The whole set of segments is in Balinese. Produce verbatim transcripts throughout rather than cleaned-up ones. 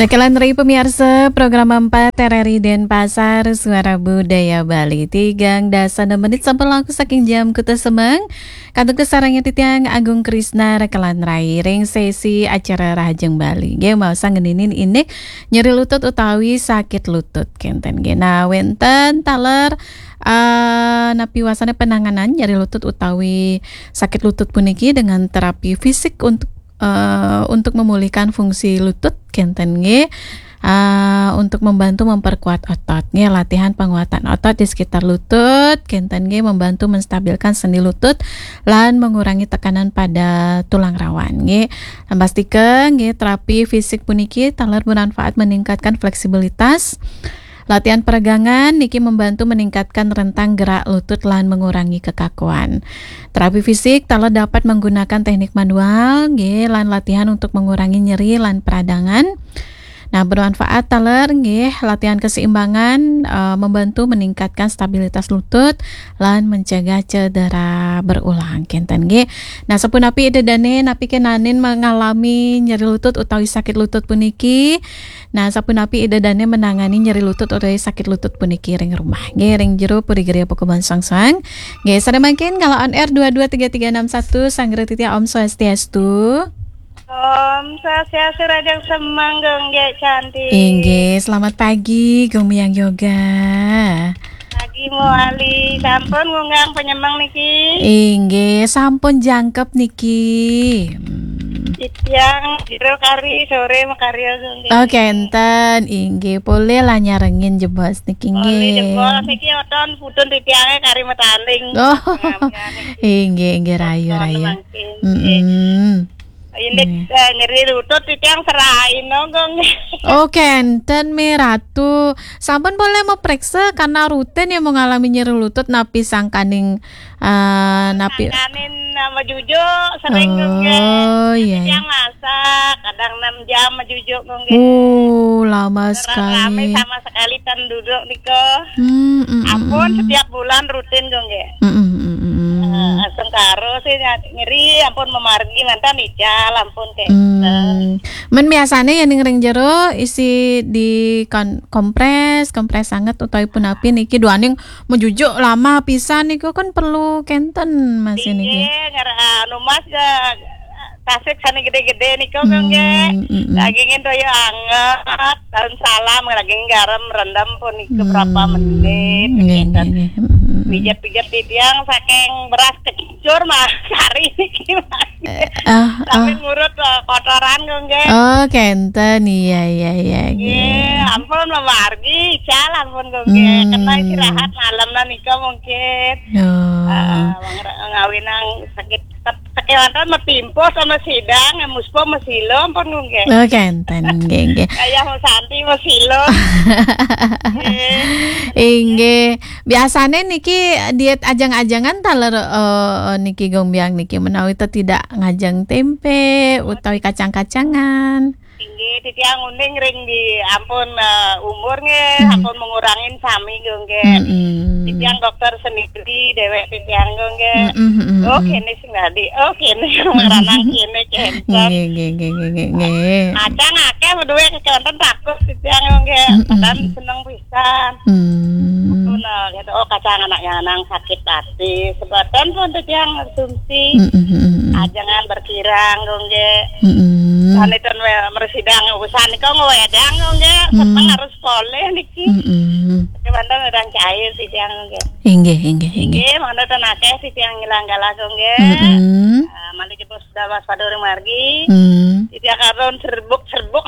Rekelan ri pemirsa, program empat R R I Denpasar, Suara Budaya Bali. Tigang dasa enam menit sampun langkung saking jam kuta semeng. Kantun kasarengin titiang Agung Krisna rekelan rai ring sesi acara Rahajeng Bali. Nggih, maos ngeninin indik nyeri lutut utawi sakit lutut kenten nggih. Nah, wenten taler, eh, napi wasana penanganan nyeri lutut utawi sakit lutut puniki dengan terapi fisik untuk, eh, untuk memulihkan fungsi lutut kenten nggih. Ah, untuk membantu memperkuat otot nggih, latihan penguatan otot di sekitar lutut kenten nggih, membantu menstabilkan sendi lutut lan mengurangi tekanan pada tulang rawan nggih. Nah, pastika nggih, terapi fisik puniki taler bermanfaat meningkatkan fleksibilitas. Latihan peregangan niki membantu meningkatkan rentang gerak lutut lan mengurangi kekakuan. Terapi fisik taler dapat menggunakan teknik manual nggih, lan latihan untuk mengurangi nyeri lan peradangan. Nah, bermanfaat taler nggih, latihan keseimbangan, eh, membantu meningkatkan stabilitas lutut lan mencegah cedera berulang kenten nggih. Nah, sapunapi Ida Dane napi kenanin mengalami nyeri lutut utawi sakit lutut puniki? Nah, sapunapi Ida Dane menangani nyeri lutut utawi sakit lutut puniki ring rumah nggih, ring jero Puri Geria Pakubunan Soang-soang? Nggih, sadaya mangkin kalau on air dua dua tiga tiga enam satu, Sanggra Titiang, Om Swastiastu. Om Swastiastu, Rahajeng Semeng, Gung Gek Cantik. Inggih, selamat pagi, Gung Miang Yoga. Pagi mawali, sampun ngunggang penyemeng niki? Inggih, sampun jangkep niki. Hmm. Titiang jero kari sore makarya, Gung Gek. Oh, kenten, inggih, polih lah nyarengin jebos niki, polih nggih. Jebos niki oton putun titiange kari matanding. Oh. Nggih, nggih, rayu, rayu. Mangkin, nggih. Mm-mm. Ini, eh, nyeri lutut titiang serahin, Gung. Oh, kenten, Mi Ratu. Sampun polih mapriksa karena rutin ya mengalami nyeri lutut napi sangkaning, eh, napi? Sangkaning, eh, majujuk sering, Gung, nggih. Oh, iya, iya. Titiang masak, kadang enam jam majujuk, Gung, nggih. Oh, lama sekali. Rame sama sekali ten duduk nika. Hmm, mm, mm, ampun, mm. Setiap bulan rutin, Gung, nggih. Mm, mm, mm, mm, mm. Eh, sengkara sih nyeri, ampun mamargi, mantan ical, ampun, kenten. Hmm. Men biasanya ya ning ring jero isi di kon-, kompres, kompres sanget utawi punapi niki duaning majujuk lama pisan niku kan perlu kenten masih niki. Inggih, ngar-, anu Mas, eh, tasik sane gede-gede niku, Gung, nggih. Hmm, mm, mm. Dagingin toya anget, daun salam, daging garam, rendem pun niku berapa menit, nggih, kenten. Nggih, nggih. Mm, mm, mm. Pijet-pijet titiang saking beras kecicur, Mas. Sari niki, Mas. Eh, ah, sambil ah. Ngurut, eh, kotoran, Gung, nggih. Oh, kenten. Iya, iya, iya, nggih. Nggih, ampun, mamargi, ical, ampun, Gung, nggih. Hmm. Kena istirahat malam lah nika mungkin. Oh. Eh, wong re-, ngawinang sakit, kewanten matimpo sama sidang, muspo masilo, ampun, Gung, nggih. Oh, kenten, nggih, nggih. Ayah mau santi masilo. Nggih. Inggih. Biasane niki diet ajeng-ajengan taler, eh, niki Gung Biang niki menawi tetidak ngajeng tempe utawi kacang-kacangan. Inggih, titiang uning ring di ampun, eh, umur nggih, hmm, ampun mengurangin sami, Gung, nggih. Mm-mm. Titiang dokter sendiri, dewek titiang, Gung, nggih. Mm-mm, mm-mm. Oh, kene sing dadi. Oh, kene sing maranang kene, kenten. Nggih, nggih, nggih, nggih, nggih, nggih. Kacang akeh, beduwe kecenten takut titiang, Gung, nggih. Mm-mm. Padahal seneng pisan. Hmm. Betul lah, gitu. Oh, kacang anak yang nang sakit hati. Sebatan pun titiang konsumsi. Mm-mm, mm-mm. Ajengan berkirang, Gung, nggih. Mm-mm. Sane ten we-, mersidang usan nika ngwedang, Gung, nggih. Seneng, hmm, harus poleh niki. Mm-mm. Kebanten udah cair titiang, Gung, nggih. Inggih, inggih, inggih. Inggih, mangda ten akeh titiang ngilang galah, Gung, nggih. Mm-mm. Ah, malih jebos sudah waspada ring margi. Hmm. Titiang katon serbuk-serbuk.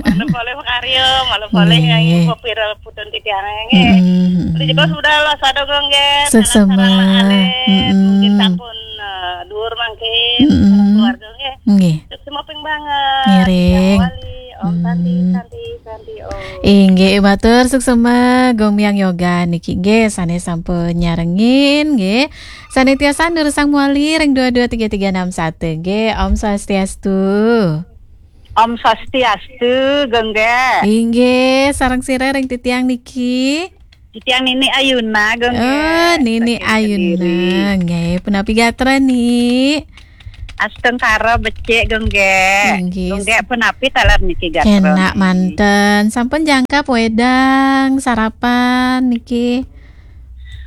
Malu poleh makarya, malu poleh, nggih, nyanyi pira putun titiang, nggih. Hmm. Malih jebos sudah waspada, Gung, nggih. Suksma. Sareng-sareng alit. Hmm. Mungkin sampun, eh, duur mangkin, hmm, sareng keluarga, nggih. Nggih. Suksma ping banget. Ngiring. Wali, Om Santi, hmm, Santi, Santi, Om. Inggih, matur suksma, Gung Miang Yoga niki, nggih, sane sampun nyarengin, nggih. Sane tiasa durusang mawali ring dua dua tiga tiga enam satu, nggih. Om Swastiastu. Om Swastiastu, Gung, nggih. Inggih, sareng sira ring titiang niki. Titiang Nini Ayuna, Gung, nggih. Oh, Nini Ayuna, nggih. Punapi gatra, Ni? Astungkara becik, Gung Gek. Inggih. Gung Gek punapi taler niki gatra? Kenak manten. Sampun jangkep wedang, sarapan niki?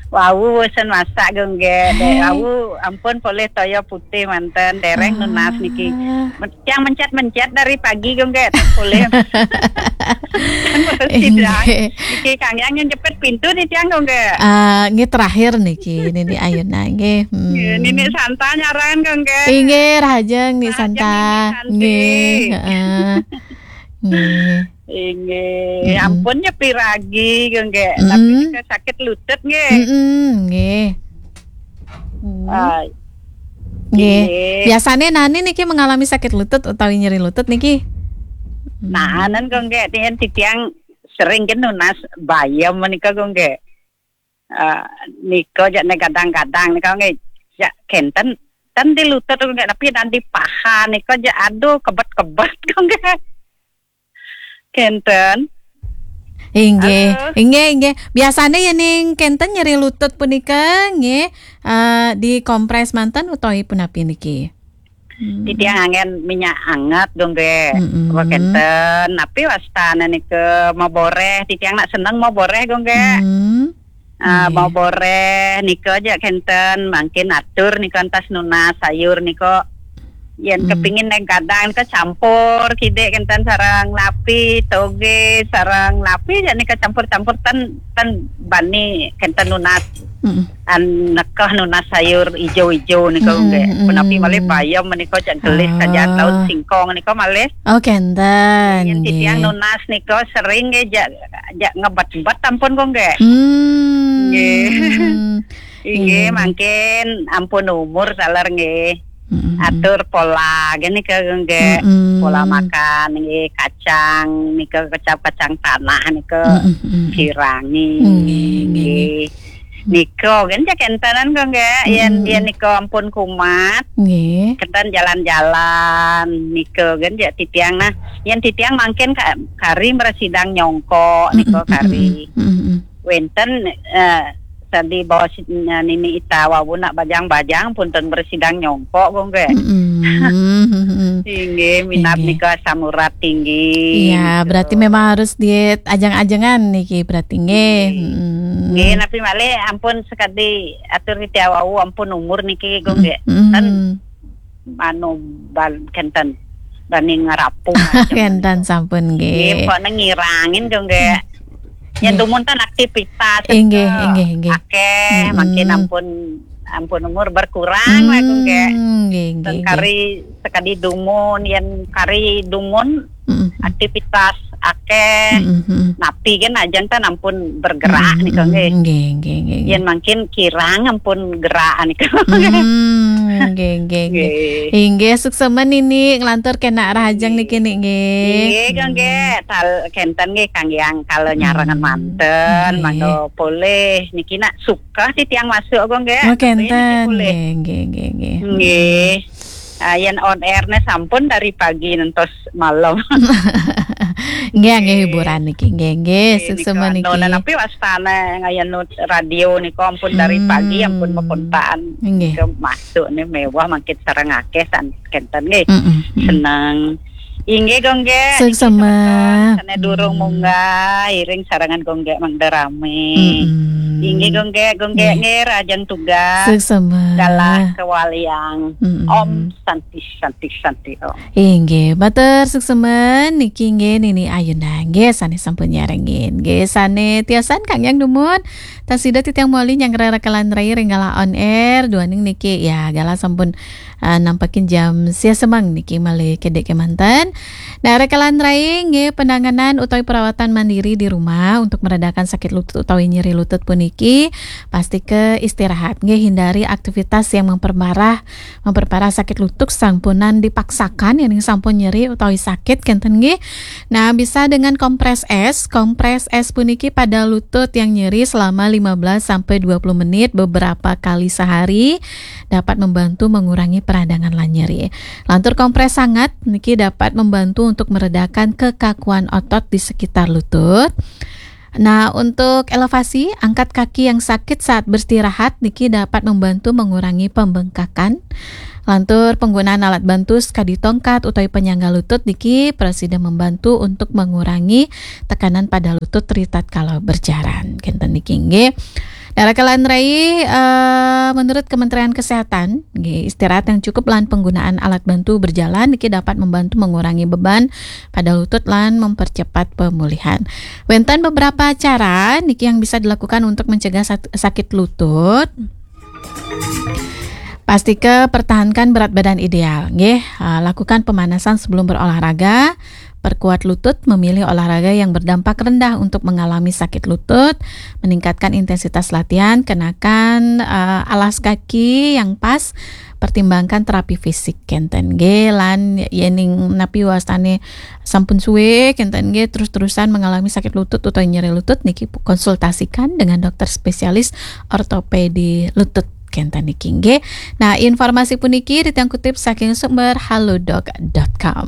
Wau bosen masak, Gung Gek. Dek, hai, wau ampun polih toya putih manten, dereng nunas niki. Ah. Men-, yang mencet-mencet dari pagi, Gung Gek, polih. Kan baru sidang. Inggih. Niki Kang Yang yang jepit pintu nih tiang, Gung Gek. Ah, nggih terakhir niki, Nini Ayuna nggih. Hmm. Nggih, Nini Santa nyarangan, Gung Gek. Inggih, rahajeng Ni Santa. Rahajeng Nini Santi. Nggih, heeh. Nggih. Inggih, mm-mm, ampun nyepi ragi, Gung Gek. Tapi, mm-mm, nika sakit lutut, nggih. Mm-mm, nggih. Hmm. Ah, nggih. Nggih. Biasane Nani niki mengalami sakit lutut utawi nyeri lutut niki? Hmm. Nah, anan, Gung Gek, tien titiang sering ke nunas bayem menika, Gung Gek. Ah, nika jak ne gadang-gadang nika nggih. Jak kenten, ten di lutut, Gung Gek, tapi dan di paha nika jak, aduh, kebet-kebet, Gung Gek. Kenten. Inggih, halo, inggih, inggih. Biasane yening kenten nyeri lutut punika nggih, eh, dikompres manten utawi punapi niki? Hmm. Titiang anggen minyak anget, Gung Gek. Mm-mm. Apa kenten, napi wastane nika maboreh, titiang nak seneng maboreh, Gung Gek. Hmm. Ah, nggih. Mau boreh nika jak kenten, mangkin atur nika entas nunas sayur nika. Yen, hmm, kepingin neng kadang nika campur kidik kenten sareng napi, toge, sareng napi jak nika campur-campur ten, ten bani kenten nunas. Mm-mm. An nekeh nunas sayur ijo-ijo nika, mm-mm, nggih. Mm-mm. Punapi malih bayem menika jak gelis, ah, saja daun singkong nika malih. Oh, kenten, yen titiang, nggih, nunas nika sering nggih jak, jak ngebet-ngebet ampun, Gung Gek. Hmm. Nggih. Inggih, inggih, mangkin ampun umur taler nggih. Mm-mm. Atur pola nggih nika, Gung Gek. Mm-mm. Pola makan nggih, kacang nika, kecap kacang tanah nika, mm-mm, mm-mm, sirangi. Nggih, nggih, nggih. Nggih. Nika kan jak kentanan, Gung Gek. Yen, mm-mm, yen nika ampun kumat. Nggih. Kenten jalan-jalan nika kan jak titiang nah. Yen titiang mangkin ka-, kari mresidang nyongkok nika, mm-mm, kari. Mm-mm. Wenten, eh, tadi bawa si-, eh, Nini Ita wau nak bajang-bajang pun ten mresidang nyongkok, Gung Gek. Mm-mm. Inggih, minat, inggih, nika asam urat tinggi. Iya, gitu. Berarti memang harus diet ajeng-ajengan niki berarti nggih. Nggih. Mm-mm. Nggih, napi malih ampun sekadi atur titiang wau ampun umur niki, Gung Gek. Mm-mm. Ten anu bal-, kenten bani ngerapu macam kenten niku. Sampun nggih. Nggih, pokoknya ngirangin, Gung Gek. Yen, nggih, dumun ten aktivitas, inggih, eh, inggih, inggih, akeh, mm-mm, mangkin ampun, ampun umur berkurang lah, Gung Gek. Mm, nggih, nggih, nggih. Ten kari sekadi dumun, yen kari dumun, mm-mm, aktivitas akeh. Mm-mm, mm-mm. Napi kan ajeng ten ampun bergerak, mm-mm, nika nggih. Nggih, nggih, nggih, nggih. Yen mangkin kirang ampun gerak nika. Hmm, nggih, nggih, nggih. Nggih. Inggih, suksma Nini nglantur kenak rahajeng, nggih, niki, Nik, nggih. Nggih, Gung Gek. Tal-, kenten nggih Kang Yang kala nyarengan, hmm, manten, nggih, mangga polih niki nak suka titiang masuk, Gung Gek. Oh, kenten. Nggih, nggih, nggih, nggih. Nggih. Ah, yen on air ne sampun dari pagi ngantos malam. Nggih, nggih, nggih, hiburan niki. Nggih, nggih, nggih, suksma nika, niki. Anu, napi wastane ngayanut radio nika ampun dari, hmm, pagi ampun makontakan. Nggih. Nika masuk ne mewah mangkin sareng akeh san kenten nggih. Mm-mm, mm. Seneng. Inggih, Gung Gek. Suksma. Niki semeton sane durung, mm, munggah, iring sarengan Gung Gek mangda rame. Mm-mm. Inggih, Gung Gek, Gung Gek, nggih, nggih, rahajeng tugas. Suksma. Galah kawaliang. Mm-mm. Om Santi, Santi, Santi, Om. Inggih, matur suksma niki nggih Nini Ayuna nggih sane sampun nyarengin. Nggih, sane tiosan Kang Yang dumun. Tasih titiang mawali nyanggra rekalan rai ring galah on air, duaning niki, ya, galah sampun, eh, nampekin jam sia semeng niki malih kedek kemanten. Nah, rekalan rai nggih penanganan utawi perawatan mandiri di rumah untuk meredakan sakit lutut utawi nyeri lutut puniki, pasti ke istirahat nggih, hindari aktivitas yang memperparah memperparah sakit lutut sampunan dipaksakan, yening sampun nyeri utawi sakit kenten nggih. Nah, bisa dengan kompres es. Kompres es puniki pada lutut yang nyeri selama lima belas sampai dua puluh menit beberapa kali sehari dapat membantu mengurangi peradangan lan nyeri. Lantur kompres sangat niki dapat membantu untuk meredakan kekakuan otot di sekitar lutut. Nah, untuk elevasi, angkat kaki yang sakit saat beristirahat niki dapat membantu mengurangi pembengkakan. Lantur penggunaan alat bantu sekadi tongkat utawi penyangga lutut niki presida membantu untuk mengurangi tekanan pada lutut ritatkala berjalan. Kenten niki nggih. Dara kalan rai, eh, menurut Kementerian Kesehatan, nggih, istirahat yang cukup lan penggunaan alat bantu berjalan niki dapat membantu mengurangi beban pada lutut lan mempercepat pemulihan. Wenten beberapa cara niki yang bisa dilakukan untuk mencegah sak- sakit lutut. Pastika pertahankan berat badan ideal, nggih. Ah, lakukan pemanasan sebelum berolahraga. Perkuat lutut, memilih olahraga yang berdampak rendah untuk mengalami sakit lutut, meningkatkan intensitas latihan, kenakan, ah, alas kaki yang pas, pertimbangkan terapi fisik kenten nggih, lan yening napi wastane sampun suwe kenten nggih terus-terusan mengalami sakit lutut atau nyeri lutut niki konsultasikan dengan dokter spesialis ortopedi lutut kenten niki nggih. Nah, informasi puniki titiang kutip saking sumber halodoc dot com.